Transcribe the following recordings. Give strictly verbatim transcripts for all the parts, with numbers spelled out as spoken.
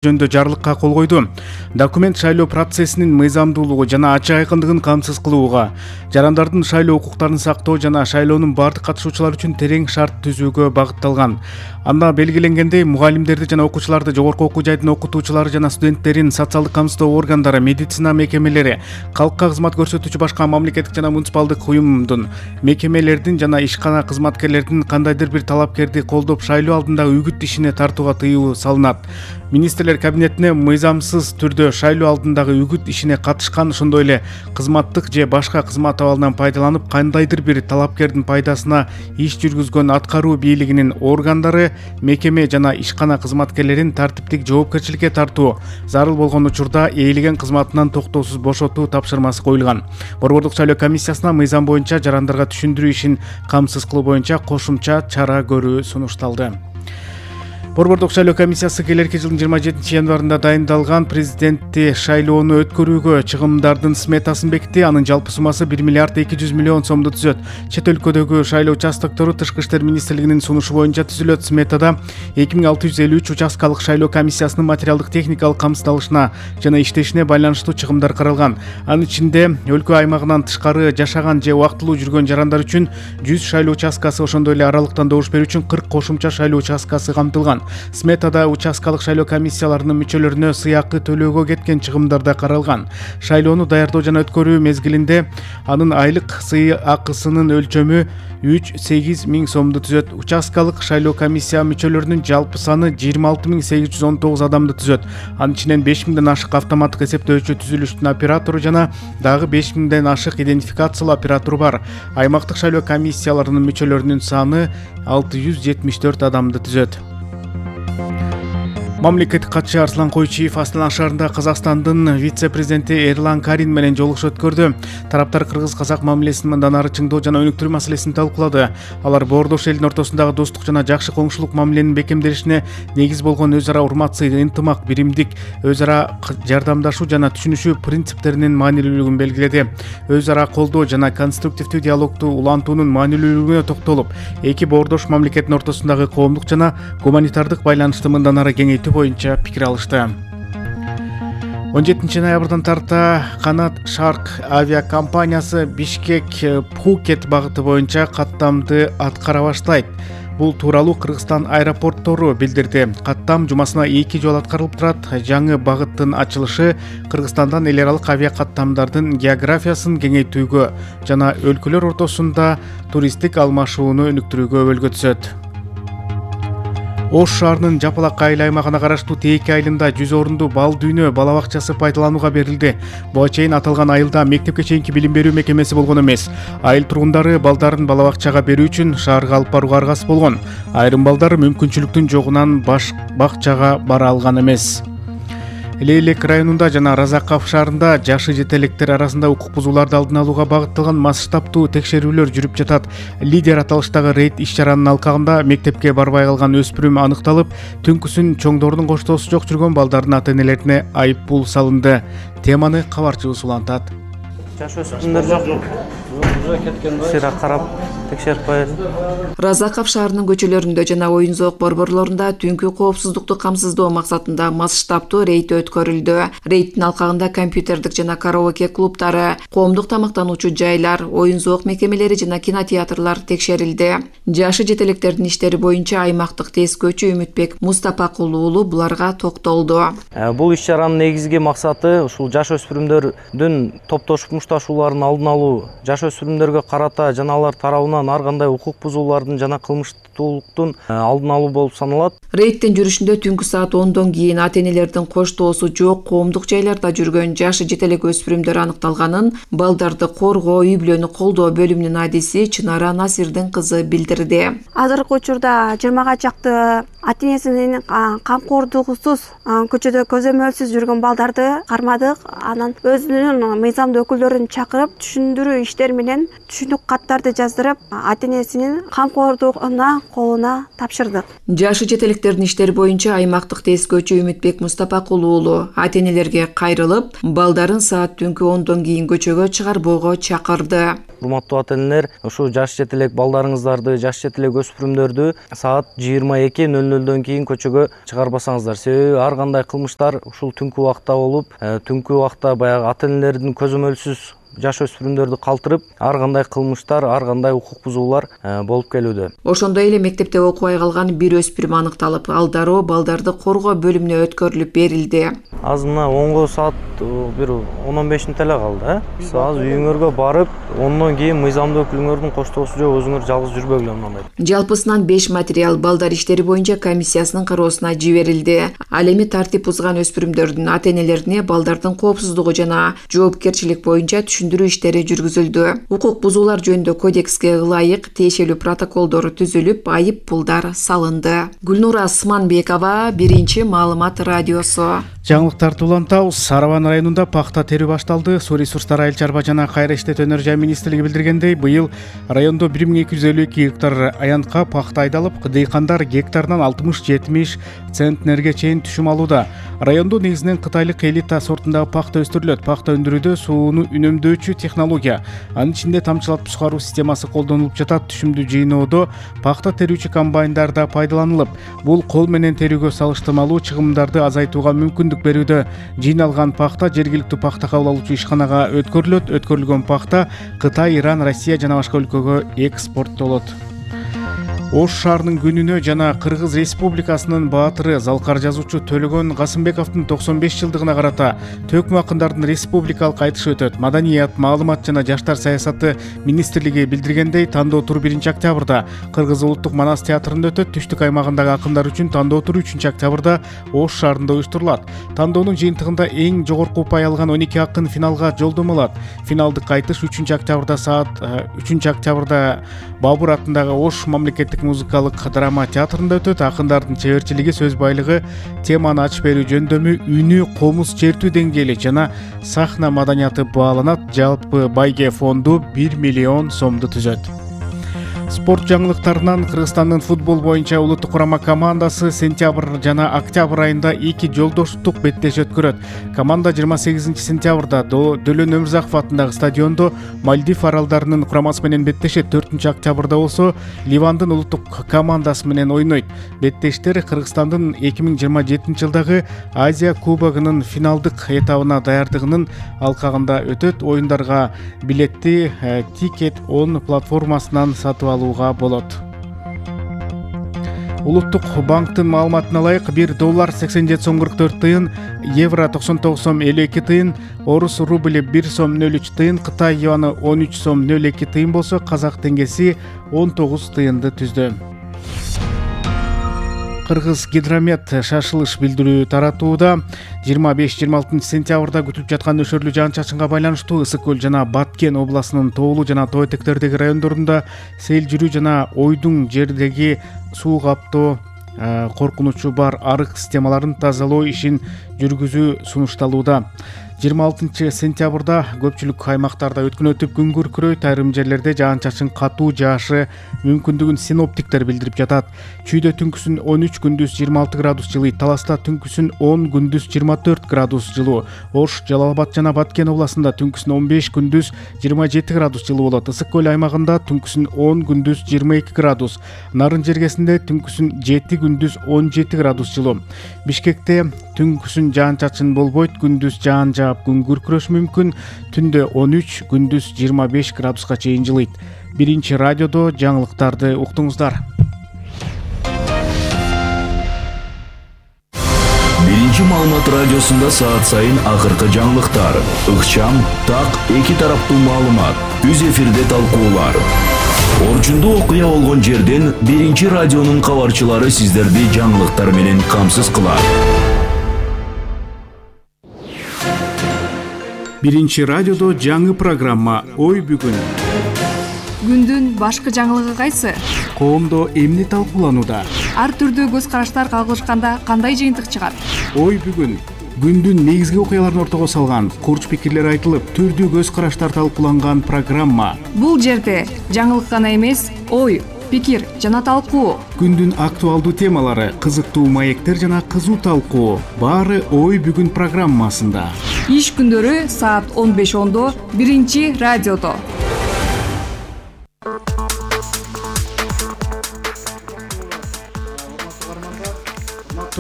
жөнүндө жарлыкка кол койду. Документ шайлоо процессинин мыйзамдуулугу жана ачык айкындыгын камсыз кылууга, жарандардын шайлоо укуктарын сактоо жана шайлоонун бардык катышуучулары үчүн терең шарт түзүүгө багытталган. Анда белгиленгендей, мугалимдерди жана окуучуларды, жогорку окуу жайдын окутуучулары жана студенттерин социалдык камсыздоо органдары, медицина мекемелери, калкка кызмат көрсөтүүчү башка мамлекеттик жана муниципалдык уюмдун, мекемелердин жана ишкана кызматкерлердин кандайдыр бир талапкерди колдоп шайлоо алдындагы үгүт ишине тартууга тыюу салынат. Министрлер кабинетине мыйзамсыз түрдө шайлоо алдындагы үгүт ишине катышкан, ошондой эле кызматтык же башка кызмат абалынан пайдаланып кандайдыр бир талапкердин пайдасына иш жүргүзгөн аткаруу бийлигинин органдары, мекеме жана ишкана кызматкерлерин тартиптик жоопкерчиликке тартуу, зарыл болгон учурда ээлеген кызматынан токтоосуз бошотуу тапшырмасы коюлган. Борбордук шайлоо комиссиясына мыйзам боюнча жарандарга түшүндүрүү ишин камсыз кылуу боюнча кошумча чара көрүү сунушталды. Борбордук шайлоо комиссиясы келерки жылдын жыйырма жетинчи январында дайындалган президенттик шайлоону өткөрүүгө чыгымдардын сметасын бекитти. Анын жалпы суммасы бир миллиард эки жүз миллион сомду түзөт. Чет өлкөдөгү шайлоо участоктору Тышкы иштер министрлигинин сунушу боюнча түзүлөт. Сметада эки миң алты жүз элүү үч участкалык шайлоо комиссиясынын материалдык техникалык камсыздалышына жана иштешине байланыштуу чыгымдар каралган. Анын ичинде өлкө аймагынан тышкары жашаган же убактылуу жүргөн жарандар үчүн жүз шайлоо участкасы, ошондой эле аралыктан добуш берүү үчүн кырк кошумча шайлоо участкасы камтылган. Сметада участкалык шайлоо комиссияларынын мүчөлөрүнө сыйакы төлөөгө кеткен чыгымдар да каралган. Шайлоону даярдоо жана өткөрүү мезгилинде анын айлык сыйакысынын өлчөмү үч сегиз миң сомду түзөт. Участкалык шайлоо комиссия мүчөлөрүнүн жалпы саны жыйырма алты миң сегиз жүз он тогуз адамды түзөт. Анын ичинен беш миңден ашык автоматтык эсептөөчү түзүлүштүн оператору жана дагы беш миңден ашык идентификациялоо оператору бар. Аймактык шайлоо комиссияларынын мүчөлөрүнүн саны алты жүз жетимиш төрт адамды түзөт. Мамлекеттик катчы Арслан Койчиев Астана шаарында Казакстандын вице-президенти Эрлан Карин менен жолугушуу өткөрдү. Тараптар кыргыз-казак мамилесин мындан ары чыңдоо жана өнүктүрүү маселесин талкуулады. Алар боордош элдин ортосундагы достук жана жакшы коңшулук мамиленин бекемделишине негиз болгон өз ара урмат, сый, ынтымак, биримдик, өз ара жардамдашуу жана түшүнүшүү принциптеринин маанилүүлүгүн белгиледи. Өз ара колдоо жана конструктивдүү диалогду улантуунун маанилүүлүгүнө токтолуп, эки боордош мамлекеттин ортосундагы коомдук жана гуманитардык байланышты мындан ары кеңейтүү боюнча пикир алышты. он жетинчи ноябрдан тарта Канат Шарк авиакомпаниясы Бишкек Пхукет багыты боюнча каттамды аткара баштайт. Бул тууралуу Кыргызстан аэропорттору билдирди. Каттам жумасына эки жолу аткарылып турат. Жаңы багыттын ачылышы Кыргызстандан эл аралык авиакаттамдардын географиясын кеңейтүүгө жана өлкөлөр ортосунда туристтик алмашууну өнүктүрүүгө өбөлгө түзөт. Ош шаарынын Жапалак айыл аймагына караштуу Тээки айылында жүз орунду бал дүйнө бала бакчасы пайдаланууга берилди. Буга чейин аталган айылда мектепке чейинки билим берүү мекемеси болгон эмес. Айыл тургундары балдарын бала бакчага берүү үчүн шаарга алып барууга аргасыз болгон. Айрым балдар мүмкүнчүлүктүн жогунан баш бакчага бара алган эмес. Лейлек районунда жана Разаков шаарында жашы жетелектер арасында укук бузууларды алдын алууга багытталган масштабтуу текшерүүлөр жүрүп жатат. Лидер аталыштагы рейд иш-чаранын алкагында мектепке барбай калган өспүрүм аныкталып, түнкүсүн чоңдордун коштоосу жок жүргөн балдардын ата-энелерине айып пул салынды. Теманы кабарчыбыз улантат. Жаш өспүрүмдөр жок. Сыра карап текшерип коет. Разаков шаарынын көчөлөрүндө жана оюн зоок борборлорунда түнкү коопсуздукту камсыздоо максатында масштабтуу рейд өткөрүлдү. Рейдтин алкагында компьютердик жана караоке клубтары, коомдук тамактануучу жайлар, оюн зоок мекемелери жана кинотеатрлар текшерилди. Жашы жетелектердин иштери боюнча аймактык тез көчү Үмүтбек Мустапакул уулу буларга токтолду. Бул иш-чаранын негизги максаты ушул жаш өспүрүмдөрдүн топтошуп мушташууларын алдын алуу, жаш өспүрүмдөргө карата жана алар тарабынан ар кандай укук бузуулардын жана кылмыштуулуктун алдын алуу болуп саналат. Рейдтин жүрүшүндө түнкү саат ондон кийин ата-энелердин коштоосу жок коомдук жайларда жүргөн жашы жетелек өспүрүмдөр аныкталганын балдарды коргоо, үй-бүлөнү колдоо бөлүмүнүн адиси Чынара Насирдин кызы билдирди. Азыркы учурда жыйырмага чакты ата-энесинин камкордугусуз көчөдө көзөмөлсүз жүргөн балдарды кармадык. Анан өзүнүн мыйзамдуу өкүлдөрүн чакырып, түшүндүрүү иштери менен түшүнүк каттарды жаздырып, ата энесинин камкордугуна колуна тапшырдык. Жашы жете электердин иштери боюнча аймактык тескөөчү Үмүтбек Мустапакул уулу ата энелерге кайрылып, балдарын саат түнкү ондон кийин көчөгө чыгарбоого чакырды. Урматтуу ата энелер, ушул жаш жете элек балдарыңыздарды, жаш жете элек өспүрүмдөрдү саат жыйырма эки нөл нөлдөн кийин көчөгө чыгарбасаңыздар. Себеби ар кандай кылмыштар ушул түнкү убакта болуп, түнкү убакта баягы ата энелердин көзөмөлсүз жаш өспүрүмдөрдү калтырып, ар кандай кылмыштар, ар кандай укук бузуулар болуп келүүдө. Ошондой эле мектепте окубай калган бир өспүрүм аныкталып, ал дароо балдарды коргоо бөлүмүнө өткөрүлүп берилди. Азыр мына онго саат бир он он беш мүнөт эле калды, э? Сиз азыр үйүңөргө барып, ондон кийин мыйзамдуу өкүлүңөрдүн коштоосу жок, өзүңөр жалгыз жүрбөгүлө мындай. Жалпысынан беш материал балдар иштери боюнча комиссиясынын кароосуна жиберилди. Ал эми тартип бузган өспүрүмдөрдүн ата энелерине балдардын коопсуздугу жана жоопкерчилик боюнча түшүндүрүү иштери жүргүзүлдү. Укук бузуулар жөнүндө кодекске ылайык тиешелүү протоколдор түзүлүп, айып пулдар салынды. Гүлнура Сманбекова, Биринчи маалымат радиосу. Жаңылыктарды улантабыз. Сарабан районунда пахта терүү башталды. Суу ресурстары, айыл чарба жана кайра иштетүү өнөр жай министрлиги билдиргендей, быйыл райондо бир миң эки жүз элүү эки гектар аянтка пахта айдалып, дыйкандар гектарынан алтымыш жетимиш центнерге чейин түшүм алууда. Райондо негизинен кытайлык элита сортундагы пахта өстүрүлөт. Пахта өндүрүүдө сууну үнөмдөөчү технология, анын ичинде тамчылатып сукаруу системасы колдонулуп жатат. Түшүмдү жыйноодо пахта терүүчү комбайндар да пайдаланылып, бул кол менен терүүгө салыштырмалуу чыгымдарды азайтууга мүмкүндүк берүүдө. Жыйналган пахта жергиликтүү пахта кабыл алуучу ишканага өткөрүлөт. Өткөрүлгөн пахта Кытай, Иран, Россия жана башка өлкөгө экспорттолот. Ош шаарынын күнүнө жана Кыргыз Республикасынын баатыры, залкар жазуучу Төлөгөн Касымбековдун токсон беш жылдыгына карата төкмө акындардын республикалык айтышы өтөт. Маданият, маалымат жана жаштар саясаты министрлиги билдиргендей, тандоо туру биринчи октябрда Кыргыз улуттук манас театрында өтөт. Түштүк аймагындагы акындар үчүн тандоо туру үчүнчү октябрда Ош шаарында уюштурулат. Тандоонун жыйынтыгында эң жогорку упай алган он эки акын финалга жолдомо алат. Финалдык айтыш үчүнчү октябрда саат үчүнчү октябрда Бабур атындагы Ош мамлекеттик музыкалык драма театрында өтөт. Акындардын чеберчилиги, сөз байлыгы, теманы ачып берүү жөндөмү, үнү, комуз чертүү деңгээли жана сахна маданияты бааланат. Жалпы байге фонду бир миллион сомду түзөт. Спорт жаңылыктарынан Кыргызстандын футбол боюнча улуттук курама командасы сентябрь жана октябрь айында эки жолдоштук беттеш өткөрөт. Команда жыйырма сегизинчи сентябрда Дөлөн Өмүрзаков атындагы стадиондо Мальдив аралдарынын курамасы менен беттешет. төртүнчү октябрда болсо Ливандын улуттук командасы менен ойнойт. Беттештер Кыргызстандын эки миң жыйырма жетинчи жылдагы Азия кубогунун финалдык этабына даярдыгынын алкагында өтөт. Оюндарга билетти Ticket он платформасынан сатып алууга болот. Улуттук банктын маалыматына ылайык бир доллар сексен жети сом кырк төрт тыйын, евро токсон тогуз сом элүү эки тыйын, орус рубли бир сом нөл үч тыйын, Кытай юаны он үч сом нөл эки тыйын болсо, казак теңгеси он тогуз тыйынды түздү. Кыргыз Гидромет шашылыш билдирүү таратууда. жыйырма беш жыйырма алтынчы сентябрда күтүлүп жаткан нөшөрлүү жаан-чачынга байланыштуу Ысык көл жана Баткен областынын тоолуу жана тоо этектердеги райондорунда сел жүрүү жана ойдуң жердеги суу каптоо коркунучу бар арык системаларын тазалоо ишин жүргүзүү сунушталууда. жыйырма алтынчы сентябрда көпчүлүк аймактарда өткөн өтүп күн күркүрөйт. Айрым жерлерде жаан-чачын катуу жаашы мүмкүндүгүн синоптиктер билдирип жатат. Чүйдө түнкүсүн он үч, күндүз жыйырма алты градус жылый, Таласта түнкүсүн он, күндүз жыйырма төрт градус жылуу. Ош, Жалал Абад жана Баткен областында түнкүсүн он беш, күндүз жыйырма жети градус жылуу болот. Ысык көл аймагында түнкүсүн он, күндүз жыйырма эки градус. Нарын жергесинде түнкүсүн жети, күндүз он жети градус жылуу. Бишкекте түнкүсүн жаан-чачын болбойт, күндүз жаан жаап күн күркүрөшү мүмкүн. Түндө он үч, күндүз жыйырма беш градуска чейин жылыйт. Биринчи радиодо жаңылыктарды уктуңуздар. Биринчи маалымат радиосунда саат сайын акыркы жаңылыктар, ыкчам, так, эки тараптуу маалымат, үз эфирде талкуулар. Орчундуу окуя болгон жерден Биринчи радионун кабарчылары сиздерди жаңылыктар менен камсыз кылат. Биринчи радиодо жаңы программа «Ой бүгүн». Күндүн башкы жаңылыгы кайсы? Коомдо эмне талкууланууда? Ар түрдүү көз караштар кагылышканда кандай жыйынтык чыгат? Ой бүгүн күндүн негизги окуяларын ортого салган, курч пикирлер айтылып, түрдүү көз караштар талкууланган программа. Бул жерде жаңылык гана эмес, ой, пикир жана талкуу. Күндүн актуалдуу темалары, кызыктуу маектер жана кызуу талкуу. Баары Ой бүгүн программасында. Иш күндөрү саат он беш ондо биринчи радиодо.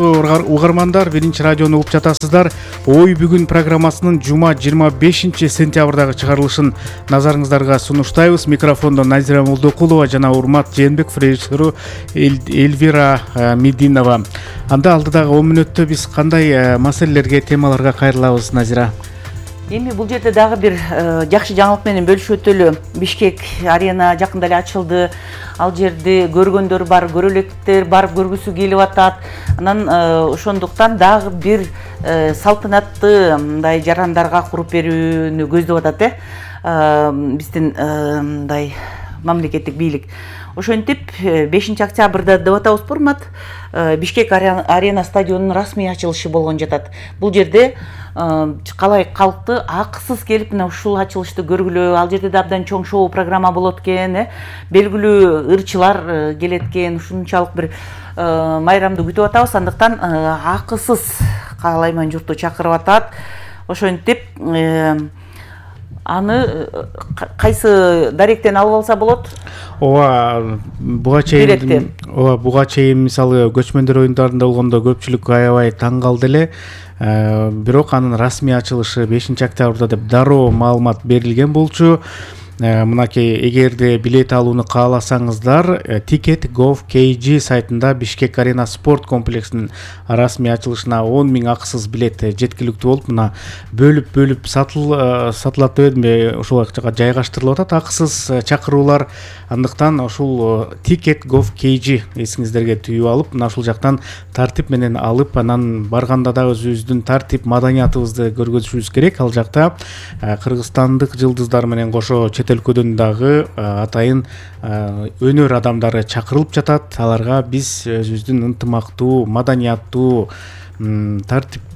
Угармандар, биринчи радиону угуп жатасыздар. Ой бүгүн программасынын жума жыйырма бешинчи сентябрдагы чыгарылышын назарыңыздарга сунуштайбыз. Микрофондо Назира Молдокулова жана урмат Жээнбеков, режиссеру Эльвира Мединова. Анда алдыдагы он мүнөттө биз кандай маселелерге, темаларга кайрылабыз, Назира? Эми бул жерде дагы бир жакшы жаңылык менен бөлүшүп өтөлү. Бишкек арена жакында эле ачылды. Ал жерде көргөндөр бар, көрөлектер бар, көргүсү келип атат. Анан ошондуктан дагы бир салтанатты мындай жарандарга куруп берүүнү көздөп атат, э. Биздин мындай мамлекеттик бийлик. Ошентип бешинчи октябрда деп атабыз, урмат, Бишкек арена стадионунун расмий ачылышы болгон жатат. Бул жерде калай калкты акысыз келип мына ушул ачылышты көргүлө. Ал жерде да абдан чоң шоу программа болот экен, э. Белгилүү ырчылар келет экен. Ушунчалык бир майрамды күтүп атабыз. Андыктан акысыз каалайман журтту чакырып атат. Ошентип аны кайсы даректен алып алса болот? Ооба, буга чейин ооба буга чейин мисалы көчмөндөр оюндарында болгондо көпчүлүк аябай таң калды эле. Бирок анын расмий ачылышы бешинчи октябрда деп дароо маалымат берилген болчу. Мынакей, эгерде билет алууну кааласаңыздар, Ticket точка gov точка kg сайтында Бишкек арена спорт комплексинин расмий ачылышына он миң акысыз билет жеткиликтүү болуп, мына бөлүп-бөлүп сатылат дебедимби, ошол жака жайгаштырылып атат акысыз чакыруулар. Андыктан ушул Ticket точка gov точка kg эсиңиздерге түйүп алып, мына ушул жактан тартип менен алып, анан барганда да өзүбүздүн тартип маданиятыбызды көргөзүшүбүз керек. Ал жакта кыргызстандык жылдыздар менен кошо өлкөдөн дагы атайын өнөр адамдары чакырылып жатат. Аларга биз өзүбүздүн ынтымактуу, маданияттуу, тартипке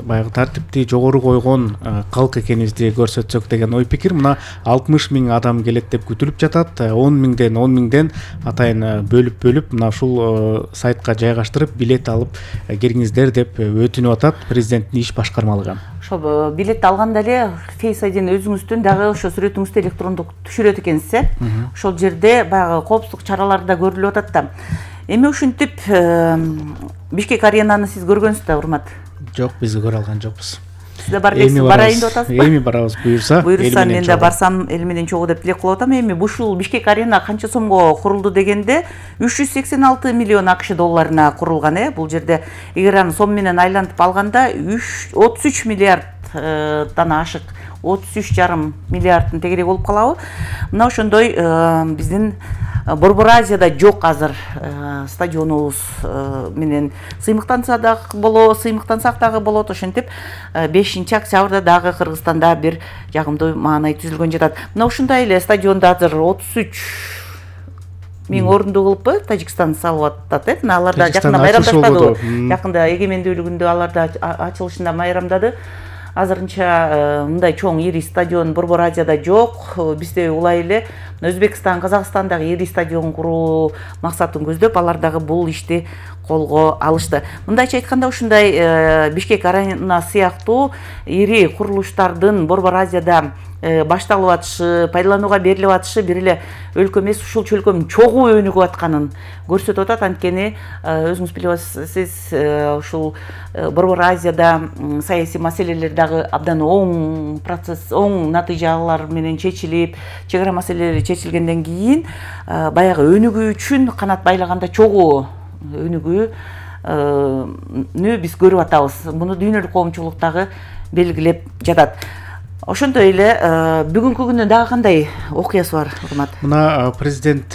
баягы тартипти жогору койгон калк экенибизди көрсөтсөк деген ой пикир. Мына алтымыш миң адам келет деп күтүлүп жатат. он миңден он миңден атайын бөлүп-бөлүп мына ушул сайтка жайгаштырып билет алып кириңиздер деп өтүнүп атат президенттин иш башкармалыгы. Ошо билетти алганда эле Face ай дини өзүңүздүн дагы ошо сүрөтүңүздү электрондук түшүрөт экенсиз, э. Ошол жерде баягы коопсуздук чаралары да көрүлүп атат да. Эми ушинтип Бишкек аренаны сиз көргөнсүз да, урмат? Жок, биз көрө алган жокпуз. Сиз да бар экенсиз, барайын деп атасызбы? Эми барабыз, буюрса. Буюрса мен да барсам, эл менен чогуу деп тилек кылып атам. Эми ушул Бишкек арена канча сомго курулду дегенде үч жүз сексен алты миллион акш долларына курулган, э. Бул жерде эгер аны сом менен айлантып алганда отуз үч миллиарддан ашык, отуз үч жарым миллиардтын тегерек болуп калабы. Мына ошондой биздин Борбор Азияда жок азыр стадионубуз менен сыймыктанса дагы болот, сыймыктансак дагы болот. Ошентип бешинчи октябрда дагы Кыргызстанда бир жагымдуу маанай түзүлгөн жатат. Мына ушундай эле стадионду азыр отуз үч миң орунду кылып Тажикстан салып атат, э. Алар да жакында майрамдаштады. Жакында эгемендүүлүгүндө алар да ачылышында майрамдады. Азырынча мындай чоң ири стадион Борбор Азияда жок. Бизде улай эле Өзбекстан, Казакстандагы ири стадион куруу максатын көздөп, алар дагы бул ишти колго алышты. Мындайча айтканда, ушундай Бишкек арена сыяктуу ири курулуштардын Борбор Азияда башталып атышы, пайдаланууга берилип атышы бир эле өлкө эмес, ушул чөлкөмүн чогуу өнүгүп атканын көрсөтүп атат. Анткени өзүңүз билип атасыз, ушул Борбор Азияда саясий маселелер дагы абдан оң процесс, оң натыйжалар менен чечилип, чек ара маселелери чечилгенден кийин баягы өнүгүү үчүн канат байлаганда чогуу өнүгүүнү биз көрүп атабыз. Муну дүйнөлүк коомчулук дагы белгилеп жатат. Ошондой эле бүгүнкү күнү дагы кандай окуясы бар Урмат? Мына президент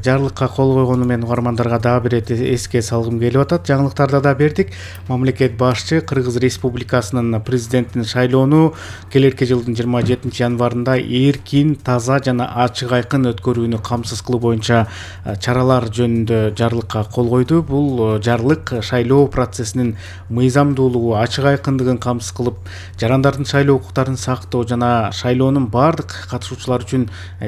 жарлыкка кол койгону менен угармандарга дагы бир эске салгым келип атат. Жаңылыктарда да бердик. Мамлекет башчы Кыргыз Республикасынын президентин шайлоону келерки жылдын жыйырма жетинчи январында эркин, таза жана ачык айкын өткөрүүнү камсыз кылуу боюнча чаралар жөнүндө жарлыкка кол койду. Бул жарлык шайлоо процессинин мыйзамдуулугу, ачык айкындыгын камсыз кылып, жарандардын шайлоо укуктарын сактоо жана шайлоонун баардык катышуучулар үчүн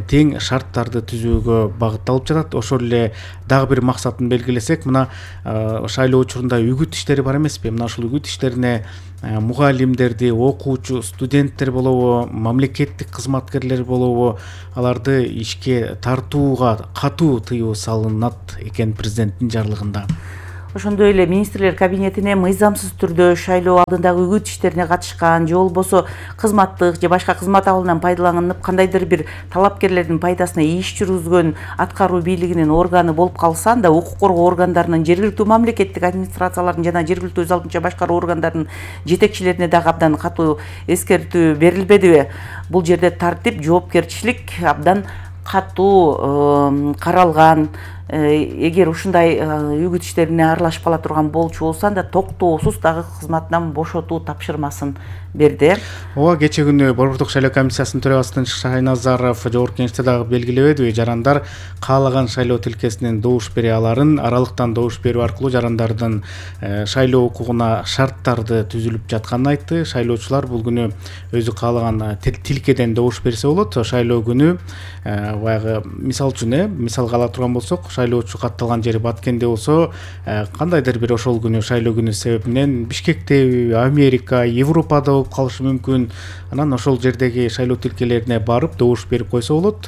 тең шарттарды түзүүгө багытталып жатат. Ошол эле дагы бир максатын белгилесек, мына шайлоо учурунда үгүт иштери бар эмеспи? Мына ушул үгүт иштерине мугалимдерди, окуучу, студенттер болобу, мамлекеттик кызматкерлер болобу, аларды ишке тартууга катуу тыюу салынат экен президенттин жарлыгында. Ошондой эле министрлер кабинетине мыйзамсыз түрдө шайлоо алдындагы үгүт иштерине катышкан же болбосо кызматтык же башка кызмат абалынан пайдаланып кандайдыр бир талапкерлердин пайдасына иш жүргүзгөн аткаруу бийлигинин органы болуп калса, анда укук коргоо органдарынын, жергиликтүү мамлекеттик администрациялардын жана жергиликтүү өз алдынча башкаруу органдарынын жетекчилерине дагы абдан катуу эскертүү берилбедиби? Бул жерде тартип, жоопкерчилик абдан катуу каралган. Эгер ушундай үгүт иштерине аралашып кала турган болчу болсо, анда токтоосуз дагы кызматынан бошотуу тапшырмасын берди. Ооба, кечээ күнү Борбордук шайлоо комиссиясынын төрагасы Шайназаров жогорку кеңеште дагы белгилебедиби? Жарандар каалаган шайлоо тилкесинен добуш бере аларын, аралыктан добуш берүү аркылуу жарандардын шайлоо укугуна шарттарды түзүлүп жатканын айтты. Шайлоочулар бул күнү өзү каалаган тилкеден добуш берсе болот. Шайлоо күнү баягы мисал үчүн, э, мисалга ала турган болсок, шайлоочу катталган жери Баткенде болсо, кандайдыр бир ошол күнү шайлоо күнү себебинен Бишкекте, Америка, Европада болуп калышы мүмкүн. Анан ошол жердеги шайлоо тилкелерине барып добуш берип койсо болот.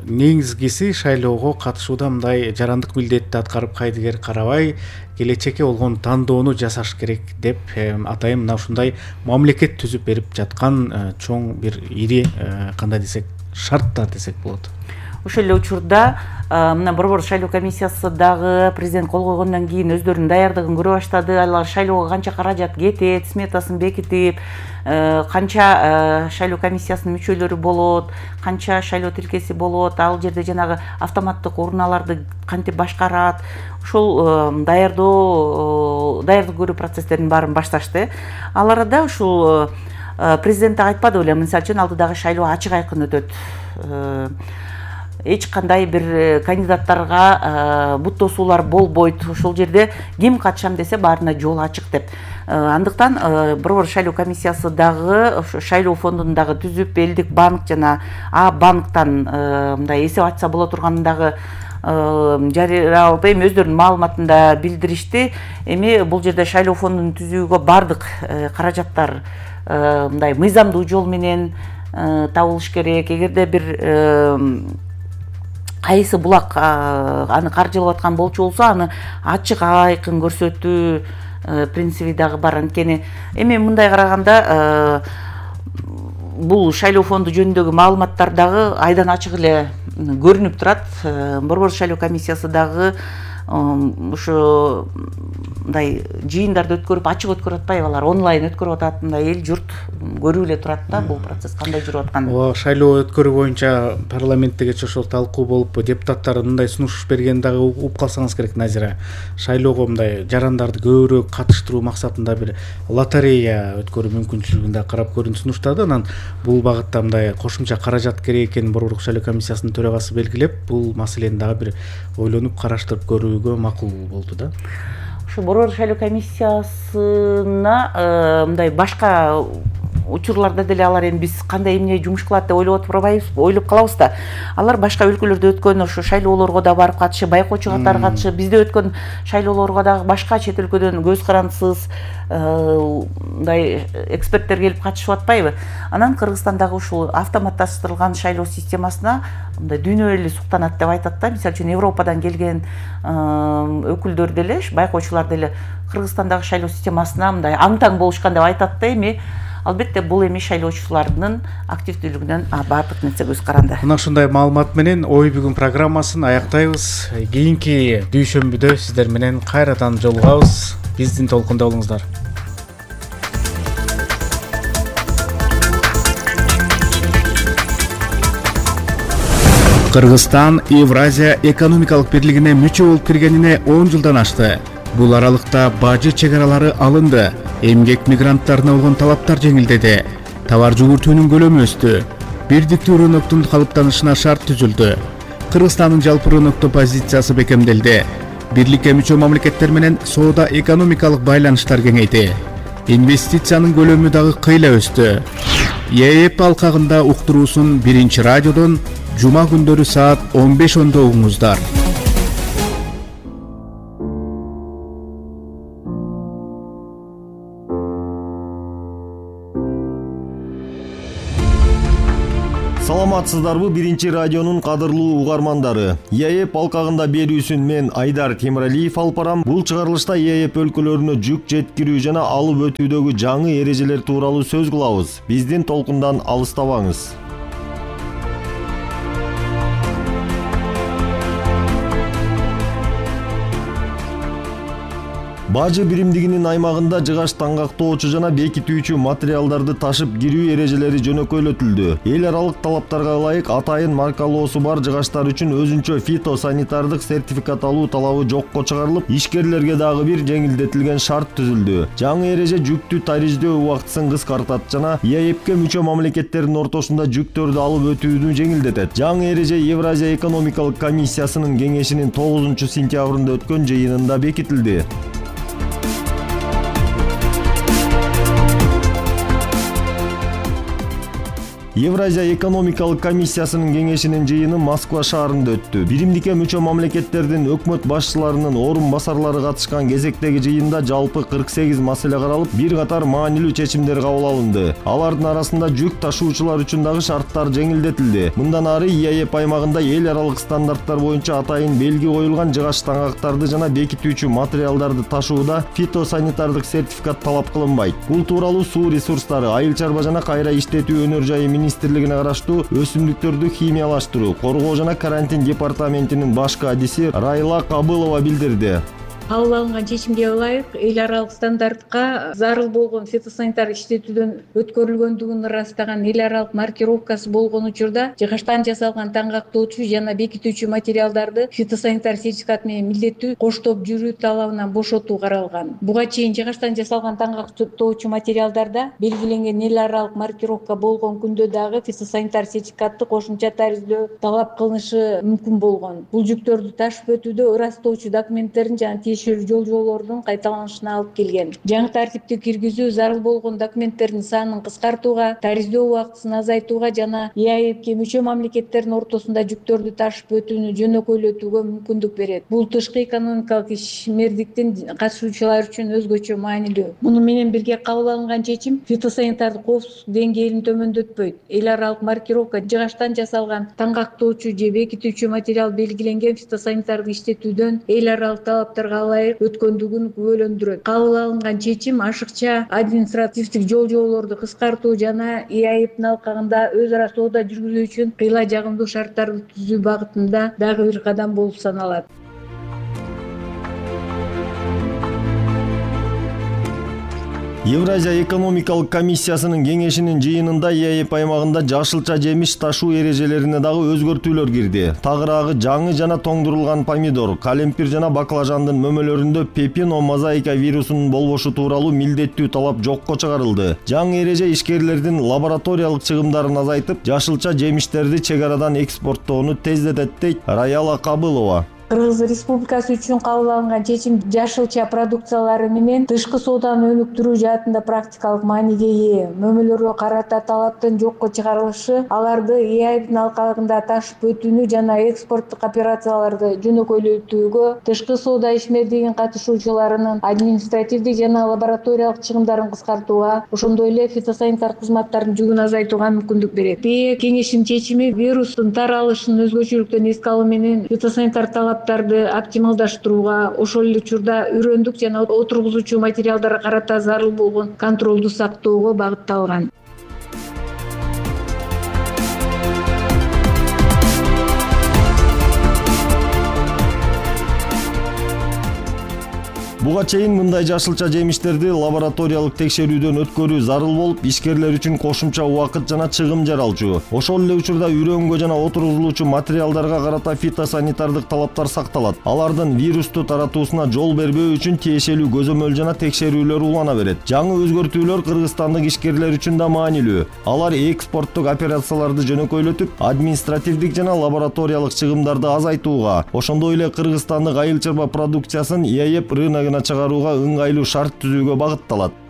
Негизгиси шайлоого катышууда мындай жарандык милдетти аткарып кайдыгер карабай, келечекке болгон тандоону жасаш керек деп атайын мына ушундай мамлекет түзүп берип жаткан чоң бир ири кандай десек шарттар десек болот. Ошол эле учурда мына Борбор шайлоо комиссиясы дагы президент кол койгондон кийин өздөрүнүн даярдыгын көрө баштады. Алар шайлоого канча каражат кетет, сметасын бекитип, канча шайлоо комиссиясынын мүчөлөрү болот, канча шайлоо тилкеси болот, ал жерде жанагы автоматтык урналарды кантип башкарат, ошол даярдоо даярдык көрүү процесстеринин баарын башташты. Ал арада ушул президент айтпады беле, мисалы үчүн алдыдагы шайлоо ачык айкын өтөт. Эч кандай бир кандидаттарга буттосуулар болбойт. Ошол жерде ким катышам десе баарына жол ачык деп. Андыктан Борбор шайлоо комиссиясы дагы шайлоо фондун дагы түзүп, элдик банк жана А банктан мындай эсеп ачса боло турганын дагы жарыялап эми өздөрүнүн маалыматында билдиришти. Эми бул жерде шайлоо фондун түзүүгө бардык каражаттар мындай мыйзамдуу жол менен табылыш керек. Эгерде бир кайсы булак аны каржылап аткан болчу болсо, аны ачык айкын көрсөтүү принциби дагы бар. Анткени эми мындай караганда бул шайлоо фонду жөнүндөгү маалыматтар дагы айдан ачык эле көрүнүп турат. Борбор шайлоо комиссиясы дагы ошо мындай жыйындарды өткөрүп, ачык өткөрүп атпайбы, алар онлайн өткөрүп атат, мындай эл журт көрүп эле турат да бул процесс кандай жүрүп атканын. Ооба, шайлоо өткөрүү боюнча парламентте кечээ ошол талкуу болуп, депутаттар мындай сунуш берген дагы угуп калсаңыз керек, Назира. Шайлоого мындай жарандарды көбүрөөк катыштыруу максатында бир лотерея өткөрүү мүмкүнчүлүгүн да карап көрүүнү сунуштады. Анан бул багытта мындай кошумча каражат керек экенин Борбордук шайлоо комиссиясынын төрагасы белгилеп, бул маселени дагы бир ойлонуп караштырып көрүүгө макул болду да. Борбор шайлоо комиссиясына мындай башка учурларда деле алар эми биз кандай эмне жумуш кылат деп ойлоп отурбайбыз, ойлоп калабыз да. Алар башка өлкөлөрдө өткөн ошо шайлоолорго да барып катышып, байкоочу катары катышып, бизде өткөн шайлоолорго дагы башка чет өлкөдөн көз карандысыз мындай эксперттер келип катышып атпайбы? Анан Кыргызстандагы ушул автоматташтырылган шайлоо системасына мындай дүйнө эли суктанат деп айтат да. Мисалы үчүн Европадан келген өкүлдөр деле, байкоочулар деле Кыргызстандагы шайлоо системасына мындай аң-таң болушкан деп айтат да. Эми албетте бул эми шайлоочулардын активдүүлүгүнөн баардык нерсе көз каранды. Мына ушундай маалымат менен ой бүгүн программасын аяктайбыз. Кийинки дүйшөмбүдө сиздер менен кайрадан жолугабыз. Биздин толкунда болуңуздар. Кыргызстан Евразия экономикалык бирлигине мүчө болуп киргенине он жылдан ашты. Бул аралыкта бажы чегаралары алынды, эмгек мигранттарына болгон талаптар жеңилдеди, товар жүгүртүүнүн көлөмү өстү, бирдиктүү рыноктун калыптанышына шарт түзүлдү. Кыргызстандын жалпы рынокто позициясы бекемделди. Бирликке мүчө мамлекеттер менен соода экономикалык байланыштар кеңейди. Инвестициянын көлөмү дагы кыйла өстү. ЕЭП алкагында уктуруусун биринчи радиодон жума күндөрү саат он беш ондо угуңуздар. Саламатсыздарбы биринчи радионун кадырлуу угармандары. ЕЭП алкагында берүүсүн мен Айдар Темиралиев алып барам. Бул чыгарылышта ЕЭП өлкөлөрүнө жүк жеткирүү жана алып өтүүдөгү жаңы эрежелер тууралуу сөз кылабыз. Биздин толкундан алыстабаңыз. Бажы биримдигинин аймагында жыгач таңгактоочу жана бекитүүчү материалдарды ташып кирүү эрежелери жөнөкөйлөтүлдү. Эл аралык талаптарга ылайык атайын маркалоосу бар жыгачтар үчүн өзүнчө фитосанитардык сертификат алуу талабы жокко чыгарылып, ишкерлерге дагы бир жеңилдетилген шарт түзүлдү. Жаңы эреже жүктү тариждөө убактысын кыскартат жана ЕЭПке мүчө мамлекеттердин ортосунда жүктөрдү алып өтүүнү жеңилдетет. Жаңы эреже Евразия экономикалык комиссиясынын кеңешинин тогузунчу сентябрында өткөн жыйынында бекитилди. Евразия экономикалык комиссиясынын кеңешинин жыйыны Москва шаарында өттү. Биримдикке мүчө мамлекеттердин өкмөт башчыларынын орун басарлары катышкан кезектеги жыйында жалпы кырк сегиз маселе каралып, бир катар маанилүү чечимдер кабыл алынды. Алардын арасында жүк ташуучулар үчүн дагы шарттар жеңилдетилди. Мындан ары ЕЭП аймагында эл аралык стандарттар боюнча атайын белги коюлган жыгач таңгактарды жана бекитүүчү материалдарды ташууда фитосанитардык сертификат талап кылынбайт. Бул тууралуу суу ресурстары, айыл чарба жана кайра иштетүү өнөр жайы министрлигине караштуу өсүмдүктөрдү химиялаштыруу, коргоо жана карантин департаментинин башкы адиси Райла Кабылова билдирди. Кабыл алынган чечимге ылайык эл аралык стандартка зарыл болгон фитосанитар иштетүүдөн өткөрүлгөндүгүн ырастаган эл аралык маркировкасы болгон учурда жыгачтан жасалган таңгактоочу жана бекитүүчү материалдарды фитосанитар сертификат менен милдеттүү коштоп жүрүү талабынан бошотуу каралган. Буга чейин жыгачтан жасалган таңгактоочу материалдарда белгиленген эл аралык маркировка болгон күндө дагы фитосанитар сертификатты кошумча тариздөө талап кылынышы мүмкүн болгон. Бул жүктөрдү ташып өтүүдө ырастоочу документтердин жана жол жолордун кайталанышына алып келген. Жаңы тартипти киргизүү зарыл болгон документтердин санын кыскартууга, тариздөө убактысын азайтууга жана ЕАЭПке мүчө мамлекеттердин ортосунда жүктөрдү ташып өтүүнү жөнөкөйлөтүүгө мүмкүндүк берет. Бул тышкы экономикалык ишмердиктин катышуучулары үчүн өзгөчө маанилүү. Муну менен бирге кабыл алынган чечим фитосанитардык коопсуздук деңгээлин төмөндөтпөйт. Эл аралык маркировка жыгачтан жасалган таңгактоочу же бекитүүчү материал белгиленген фитосанитарды иштетүүдөн эл аралык талаптарга ылайык өткөндүгүн күбөлөндүрөт. Кабыл алынган чечим ашыкча административдик жол жолорду кыскартуу жана ЕАЭПтин алкагында өз ара соода жүргүзүү үчүн кыйла жагымдуу шарттарды түзүү багытында дагы бир кадам болуп саналат. Евразия экономикалык комиссиясынын кеңешинин жыйынында ЕАЭП аймагында жашылча жемиш ташуу эрежелерине дагы өзгөртүүлөр кирди. Тагыраагы жаңы жана тоңдурулган помидор, калемпир жана баклажандын мөмөлөрүндө пепино мозаика вирусунун болбошу тууралуу милдеттүү талап жокко чыгарылды. Жаңы эреже ишкерлердин лабораториялык чыгымдарын азайтып, жашылча жемиштерди чек арадан экспорттоону тездетет дейт Раяла Кабылова. Кыргыз Республикасы үчүн кабыл алынган чечим жашылча продукциялары менен тышкы сооданы өнүктүрүү жаатында практикалык мааниге ээ. Мөмөлөргө карата талаптын жокко чыгарылышы аларды ЕАЭПтин алкагында ташып өтүүнү жана экспорттук операцияларды жөнөкөйлөтүүгө, тышкы соода ишмердигин катышуучуларынын административдик жана лабораториялык чыгымдарын кыскартууга, ошондой эле фитосанитар кызматтардын жүгүн азайтууга мүмкүндүк берет. БЭ кеңешинин чечими вирустун таралышын өзгөчөлүктөн эске алуу менен фитосанитар талап оптималдаштырууга, ошол эле учурда үрөндүк жана отургузуучу материалдарга карата зарыл болгон контролду сактоого багытталган. Буга чейин мындай жашылча жемиштерди лабораториялык текшерүүдөн өткөрүү зарыл болуп, ишкерлер үчүн кошумча убакыт жана чыгым жаралчу. Ошол эле учурда үрөңгө жана отургузулуучу материалдарга карата фитосанитардык талаптар сакталат. Алардын вирусту таратуусуна жол бербөө үчүн тиешелүү көзөмөл жана текшерүүлөр улана берет. Жаңы өзгөртүүлөр кыргызстандык ишкерлер үчүн да маанилүү. Алар экспорттук операцияларды жөнөкөйлөтүп, административдик жана лабораториялык чыгымдарды азайтууга, ошондой эле кыргызстандык айыл чарба продукциясын ЕЭП рыногуна чыгарууга ыңгайлуу шарт түзүүгө багытталат.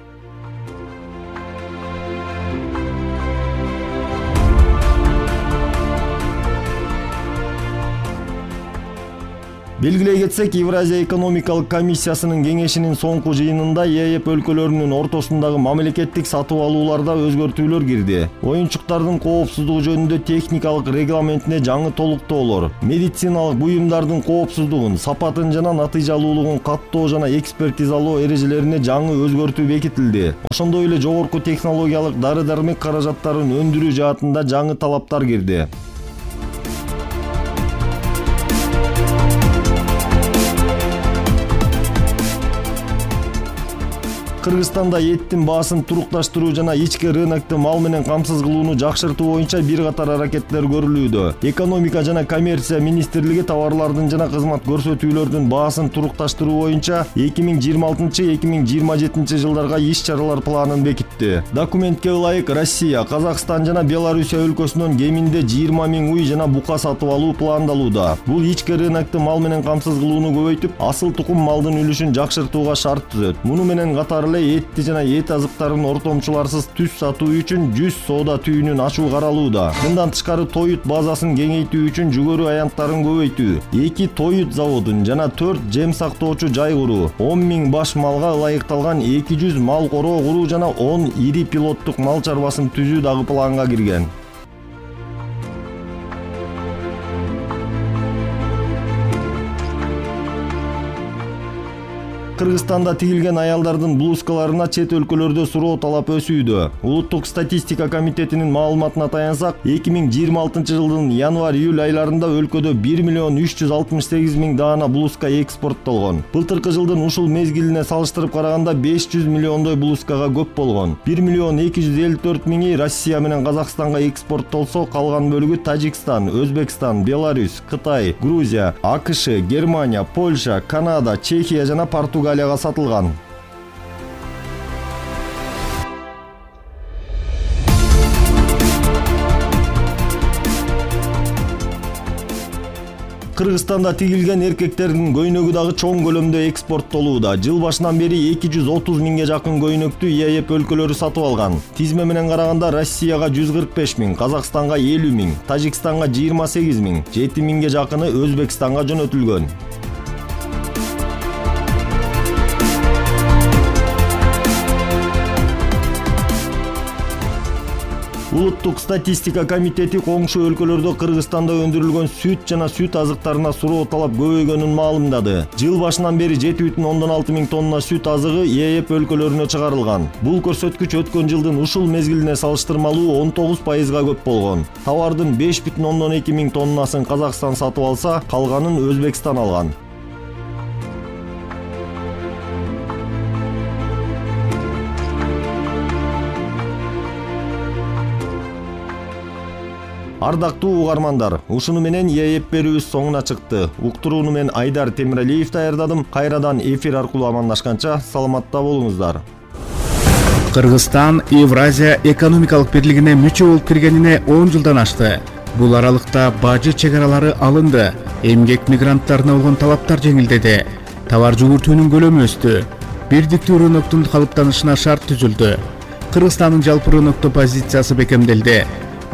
Белгилей кетсек, Евразия экономикалык комиссиясынын кеңешинин соңку жыйынында ЕЭП өлкөлөрүнүн ортосундагы мамлекеттик сатып алууларда өзгөртүүлөр кирди. Оюнчуктардын коопсуздугу жөнүндө техникалык регламентине жаңы толуктоолор, медициналык буюмдардын коопсуздугун, сапатын жана натыйжалуулугун каттоо жана экспертизалоо эрежелерине жаңы өзгөртүү бекитилди. Ошондой эле жогорку технологиялык дары-дармек каражаттарын өндүрүү жаатында жаңы талаптар кирди. Кыргызстанда эттин баасын турукташтыруу жана ички рынокту мал менен камсыз кылууну жакшыртуу боюнча бир катар аракеттер көрүлүүдө. Экономика жана коммерция министрлиги товарлардын жана кызмат көрсөтүүлөрдүн баасын турукташтыруу боюнча эки миң жыйырма алтынчы — эки миң жыйырма жетинчи жылдарга иш-чаралар планын бекитти. Документке ылайык Россия, Казакстан жана Белоруссия өлкөсүнөн кеминде жыйырма миң уй жана бука сатып алуу пландалууда. Бул ички рынокту мал менен камсыз кылууну көбөйтүп, асыл тукум малдын үлүшүн жакшыртууга шарт түзөт. Муну менен катар этти жана эт азыктарын ортомчуларсыз түз сатуу үчүн жүз соода түйүнүн ачуу каралууда. Мындан тышкары тоют базасын кеңейтүү үчүн жүгөрү аянттарын көбөйтүү, эки тоют заводун жана төрт жем сактоочу жай куруу, он миң баш малга ылайыкталган эки жүз мал короо куруу жана он ири пилоттук мал чарбасын түзүү дагы планга кирген. Кыргызстанда тигилген аялдардын блузкаларына чет өлкөлөрдө суроо талап өсүүдө. Улуттук статистика комитетинин маалыматына таянсак, эки миң жыйырма алтынчы жылдын январь-июль айларында өлкөдө бир миллион үч жүз алтымыш сегиз миң даана блузка экспорттолгон. Былтыркы жылдын ушул мезгилине салыштырып караганда беш жүз миллиондой блузкага көп болгон. бир миллион эки жүз элүү төрт миңи Россия менен Казакстанга экспорттолсо, калган бөлүгү Тажикстан, Өзбекстан, Беларусь, Кытай, Грузия, АКШ, Германия, Польша, Канада, Чехия жана Португалия Галияга сатылган. Кыргызстанда тигилген эркектердин көйнөгү дагы чоң көлөмдө экспорттолууда. Жыл башынан бери эки жүз отуз миңге жакын көйнөктү ЕЭП өлкөлөрү сатып алган. Тизме менен караганда Россияга жүз кырк беш миң, Казакстанга элүү миң, Тажикстанга жыйырма сегиз миң, жети миңге жакыны Өзбекстанга жөнөтүлгөн. Улуттук статистика комитети коңшу өлкөлөрдө Кыргызстанда өндүрүлгөн сүт жана сүт азыктарына суроо талап көбөйгөнүн маалымдады. Жыл башынан бери жети бүтүн ондон алты миң тонна сүт азыгы ЕЭП өлкөлөрүнө чыгарылган. Бул көрсөткүч өткөн жылдын ушул мезгилине салыштырмалуу он тогуз пайызга көп болгон. Товардын беш бүтүн ондон эки миң тоннасын Казакстан сатып алса, калганын Өзбекстан алган. Ардактуу угармандар, ушуну менен ЕЭП берүүбүз соңуна чыкты. Уктурууну мен Айдар Темиралиев даярдадым. Кайрадан эфир аркылуу амандашканча саламатта болуңуздар. Кыргызстан Евразия экономикалык бирлигине мүчө болуп киргенине он жылдан ашты. Бул аралыкта бажы чек аралары алынды. Эмгек мигранттарына болгон талаптар жеңилдеди. Товар жүгүртүүнүн көлөмү өстү. Бирдиктүү рыноктун калыптанышына шарт түзүлдү. Кыргызстандын жалпы рынокто позициясы бекемделди.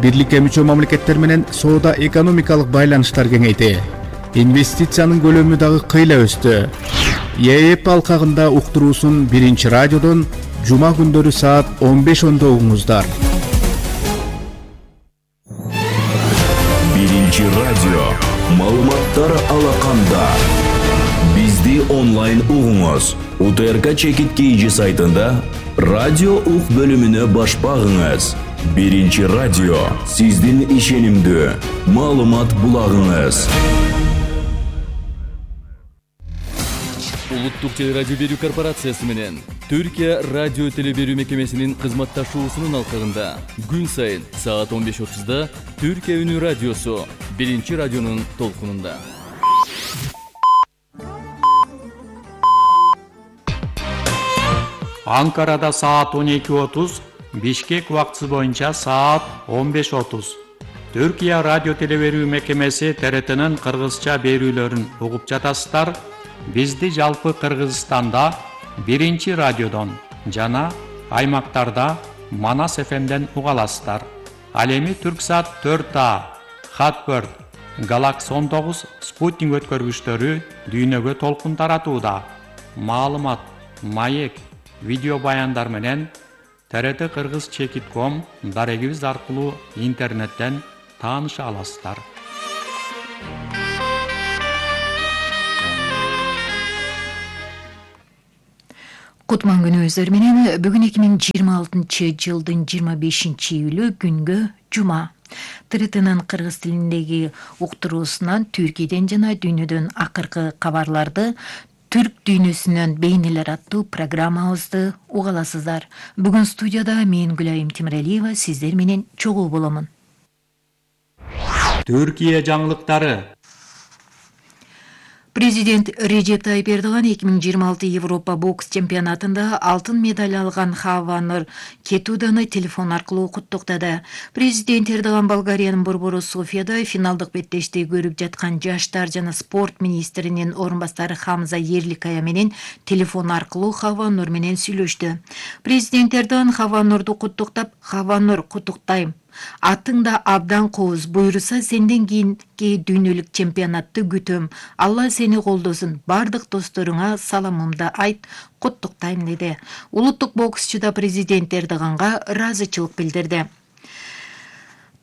Бирликке мүчө мамлекеттер менен соода экономикалык байланыштар кеңейди. Инвестициянын көлөмү дагы кыйла өстү. ЕЭП алкагында уктуруусун биринчи радиодон жума күндөрү саат он беш ондо угуңуздар. Биринчи радио маалыматтар алаканда. Бизди онлайн угуңуз. УТРК чекит кейжи сайтында радио ук бөлүмүнө баш багыңыз. Биринчи радио сиздин ишенимдүү маалымат булагыңыз. Улуттук теле радио берүү корпорациясы менен Түркия радио теле берүү мекемесинин кызматташуусунун алкагында күн сайын саат он беш отузда Түркия үнү радиосу биринчи радионун толкунунда. Анкарада саат он эки отуз, Бишкек убактысы боюнча саат он беш отуз. Түркия радио теле берүү мекемеси Т Р Т'нин кыргызча берүүлөрүн угуп жатасыздар. Бизди жалпы Кыргызстанда биринчи радиодон жана аймактарда Манас эф эмден уга аласыздар. Ал эми Түрксат төрт А, Хатберт, Галакс он тогуз спутник өткөргүчтөрү дүйнөгө толкун таратууда. Маалымат, маек, видео баяндар менен Т Р Т Кыргыз чекит точка ком дарегибиз аркылуу интернеттен тааныша аласыздар. Кутман күнүңүздөр менен бүгүн эки миң жыйырма алтынчы жылдын жыйырма бешинчи июлү күнгө жума. Т Р Т'нын кыргыз тилиндеги уктуруусунан Түркияден жана дүйнөдөн акыркы кабарларды Түрк дүйнөсүнөн бейнелер аттуу программабызды уга аласыздар. Бүгүн студияда мен Гүлайым Тимиралиева сиздер менен чогуу боломун. Түркия жаңылыктары. Президент Режеп Тайып Эрдоган эки миң жыйырма алты Европа бокс чемпионатында алтын медаль алган Хавва Кетуданы телефон аркылуу куттуктады. Президент Эрдоган Болгариянын борбору Софияда финалдык беттешти көрүп жаткан жаштар жана спорт министринин орун бастары Хамза Ерликая менен телефон аркылуу Хавва Нур менен сүйлөштү. Президент Эрдоган Хавва Нурду куттуктап, "Хавва Нур, куттуктайм. Атың да абдан кооз, буйруса сенден кийинки дүйнөлүк чемпионатты күтөм. Алла сени колдосун. Бардык досторуңа саламымды айт, куттуктайм" деди. Улуттук боксчу да президент Эрдоганга ыраазычылык билдирди.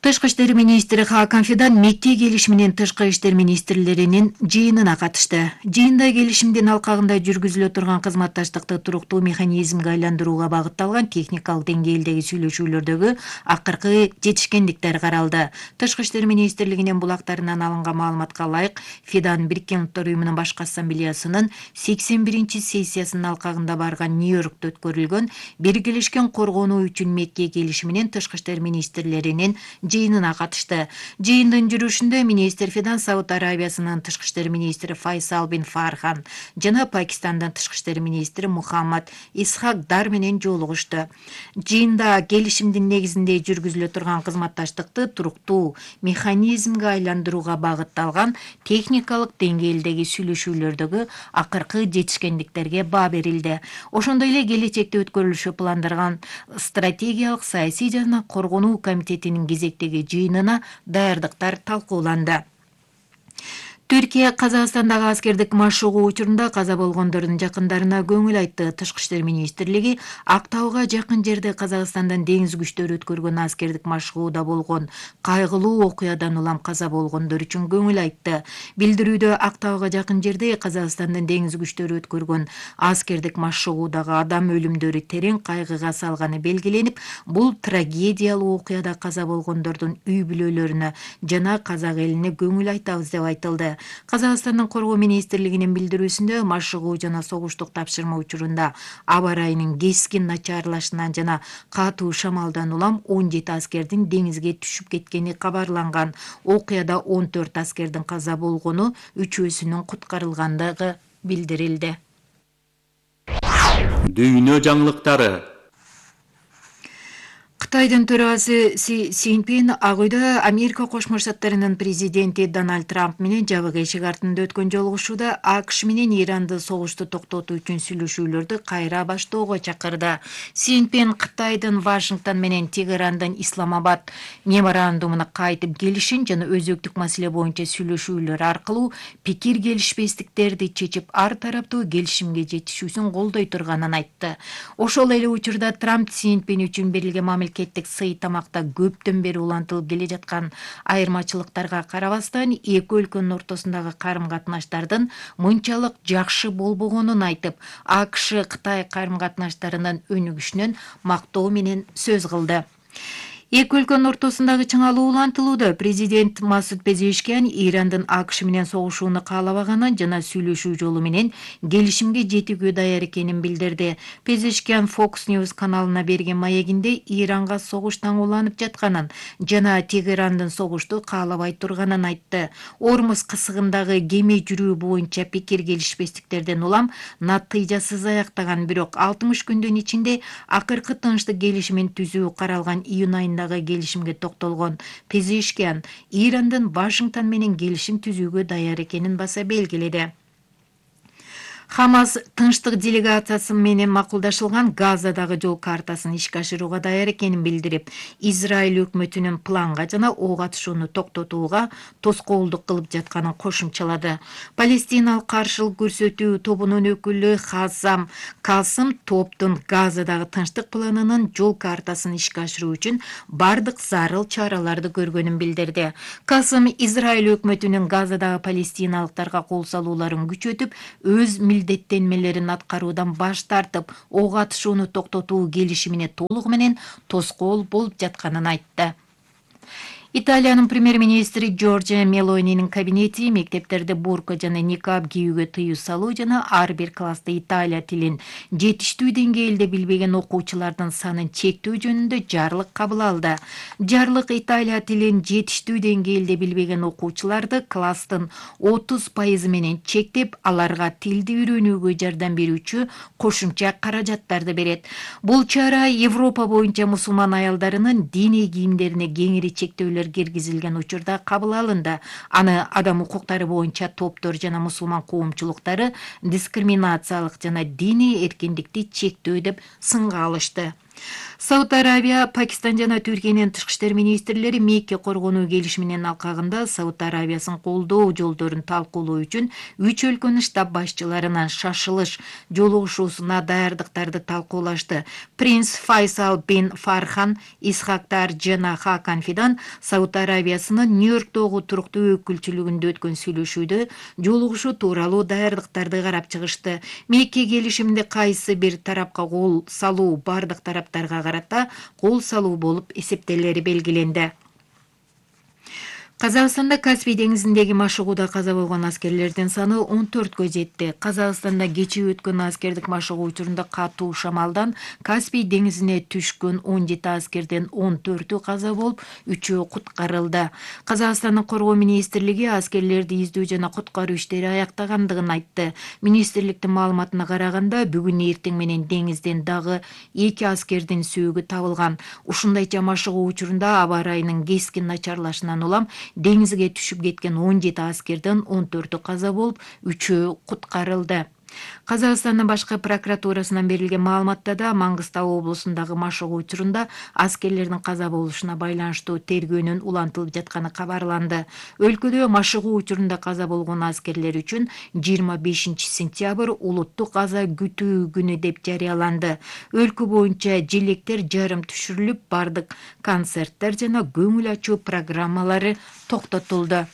Тышкы иштер министри Хакан Фидан Мекке келишими менен тышкы иштер министрлеринин жыйынына катышты. Жыйында келишимдин алкагында жүргүзүлө турган кызматташтыкты туруктуу механизмге айландырууга багытталган техникалык деңгээлдеги сүйлөшүүлөрдөгү акыркы жетишкендиктер каралды. Тышкы иштер министрлигинин булактарынан алынган маалыматка ылайык, Фидан Бириккен Улуттар уюмунун башкы ассамблеясынын сексен биринчи сессиясынын алкагында барган Нью-Йоркто өткөрүлгөн биргелешкен коргонуу үчүн Мекке келишими менен тышкы иштер министрлеринин жыйынына катышты. Жыйындын жүрүшүндө министр Фидан Сауд Арабиясынын тышкы иштер министри Файсал бин Фархан жана Пакистандын тышкы иштер министри Мухаммад Исхак Дар менен жолугушту. Жыйында келишимдин негизинде жүргүзүлө турган кызматташтыкты туруктуу механизмге айландырууга багытталган техникалык деңгээлдеги сүйлөшүүлөрдөгү акыркы жетишкендиктерге баа берилди. Ошондой эле келечекте өткөрүлүшү пландарган стратегиялык саясий жана коргонуу комитетинин кезектеги жыйынына даярдыктар талкууланды. Түркия Казакстандагы аскердик машыгуу учурунда каза болгондордун жакындарына көңүл айтты. Тышкы иштер министрлиги Актауга жакын жерде Казакстандан деңиз күчтөрү өткөргөн аскердик машыгууда болгон кайгылуу окуядан улам каза болгондор үчүн көңүл айтты. Билдирүүдө Актауга жакын жерде Казакстандын деңиз күчтөрү өткөргөн аскердик машыгуудагы адам өлүмдөрү терең кайгыга салганы белгиленип, бул трагедиялуу окуяда каза болгондордун үй бүлөлөрүнө жана казак элине көңүл айтабыз деп айтылды. Казакстандын коргоо министрлигинин билдирүүсүндө машыгуу жана согуштук тапшырма учурунда аба ырайынын кескин начарлашынан жана катуу шамалдан улам он жети аскердин деңизге түшүп кеткени кабарланган. Окуяда он төрт аскердин каза болгону, үчөөсүнүн куткарылгандыгы билдирилди. Дүйнө жаңылыктары. Кытайдын төрагасы Си Цзиньпин Ак үйдө Америка Кошмо Штаттарынын президенти Дональд Трамп менен жабык эшик артында өткөн жолугушууда АКШ менен Иранды согушту токтотуу үчүн сүйлөшүүлөрдү кайра баштоого чакырды. Цзиньпин Кытайдын Вашингтон менен Тегерандын Исламабад меморандумуна кайтып келишин жана өзөктүк маселе боюнча сүйлөшүүлөр аркылуу пикир келишпестиктерди чечип ар тараптуу келишимге жетишүүсүн колдой турганын айтты. Ошол эле учурда Трамп Цзиньпин үчүн берилген мамлекеттик сый тамакта көптөн бери улантылып келе жаткан айырмачылыктарга карабастан эки өлкөнүн ортосундагы карым-катнаштардын мынчалык жакшы болбогонун айтып, АКШ Кытай карым-катнаштарынын өнүгүшүнөн мактоо менен сөз кылды. Эки өлкөнүн ортосундагы чыңалуу улантылууда. Президент Масуд Пезешкиан Ирандын АКШ менен согушууну каалабаганын жана сүйлөшүү жолу менен келишимге жетүүгө даяр экенин билдирди. Пезешкиан Fox News каналына берген маегинде Иранга согуш таңууланып жатканын жана Тегерандын согушту каалабай турганын айтты. Ормуз кысыгындагы кеме жүрүү боюнча пикир келишпестиктерден улам натыйжасыз аяктаган, бирок алтымыш күндүн ичинде акыркы тынчтык келишимин түзүү каралган июнь айындагы келишимге токтолгон. Пезешкиан Ирандын Вашингтон менен келишим түзүүгө даяр экенин баса белгиледи. Хамас тынчтык делегациясы менен макулдашылган Газадагы жол картасын ишке ашырууга даяр экенин билдирип, Израиль өкмөтүнүн планга жана ок атышууну токтотууга тоскоолдук кылып жатканын кошумчалады. Палестиналык каршылык көрсөтүү тобунун өкүлү Хазам Касым топтун Газадагы тынчтык планынын жол картасын ишке ашыруу үчүн бардык зарыл чараларды көргөнүн билдирди. Касым Израиль өкмөтүнүн Газадагы палестиналыктарга кол салууларын күчөтүп, өз милдеттенмелерин аткаруудан баш тартып, ок атышууну токтотуу келишимине толугу менен тоскоол болуп жатканын айтты. Италиянын премьер-министри Джорджиа Мелонинин кабинети мектептерде бурка жана никаб кийүүгө тыюу салуу жана ар бир класста Италия тилин жетиштүү деңгээлде билбеген окуучулардын санын чектөө жөнүндө жарлык кабыл алды. Жарлык Италия тилин жетиштүү деңгээлде билбеген окуучуларды класстын отуз пайызы менен чектеп, аларга тилди үйрөнүүгө жардам берүүчү кошумча каражаттарды берет. Бул чара Европа боюнча мусулман аялдарынын диний кийимдерине кеңири чектөөлөр киргизилген учурда кабыл алынды. Аны адам укуктары боюнча топтор жана мусулман коомчулуктары дискриминациялык жана диний эркиндикти чектөө деп сынга алышты. Сауд Арабия, Пакистан жана Түркиянын тышкы иштер министрлери Мекке коргонуу келишиминин алкагында Сауд Арабиясын колдоо жолдорун талкуулоо үчүн үч өлкөнүн штаб башчыларынын шашылыш жолугушуусуна даярдыктарды талкуулашты. Принц Файсал бин Фархан, Исхактар жана Хакан Фидан Сауд Арабиясынын Нью-Йорктогу туруктуу өкүлчүлүгүндө өткөн сүйлөшүүдө жолугушуу тууралуу даярдыктарды карап чыгышты. Мекке келишиминде кайсы бир тарапка кол салуу бардык тараптарга карата кол салуу болуп эсептелери белгиленди. Казакстанда Каспий деңизиндеги машыгууда каза болгон аскерлердин саны он төрткө жетти. Казакстанда кечээ өткөн аскердик машыгуу учурунда катуу шамалдан Каспий деңизине түшкөн он жети аскерден он төртү каза болуп, үчөө куткарылды. Казакстандын коргоо министрлиги аскерлерди издөө жана куткаруу иштери аяктагандыгын айтты. Министрликтин маалыматына караганда, бүгүн эртең менен деңизден дагы эки аскердин сөөгү табылган. Ушундайча машыгуу учурунда аба ырайынын кескин начарлашынан улам деңизге түшүп кеткен он жети аскерден он төртү каза болуп, үчөө куткарылды. Казакстандын башкы прокуратурасынан берилген маалыматта да Маңгыстау облусундагы машыгуу учурунда аскерлердин каза болушуна байланыштуу тергөөнүн улантылып жатканы кабарланды. Өлкөдө машыгуу учурунда каза болгон аскерлер үчүн жыйырма бешинчи сентябрь улуттук каза күтүү күнү деп жарыяланды. Өлкө боюнча желектер жарым түшүрүлүп, бардык концерттер жана көңүл ачуу программалары токтотулду.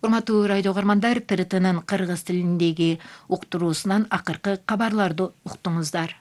Урматтуу радио угармандар, ТРТнын кыргыз тилиндеги уктуруусунан акыркы кабарларды уктуңуздар.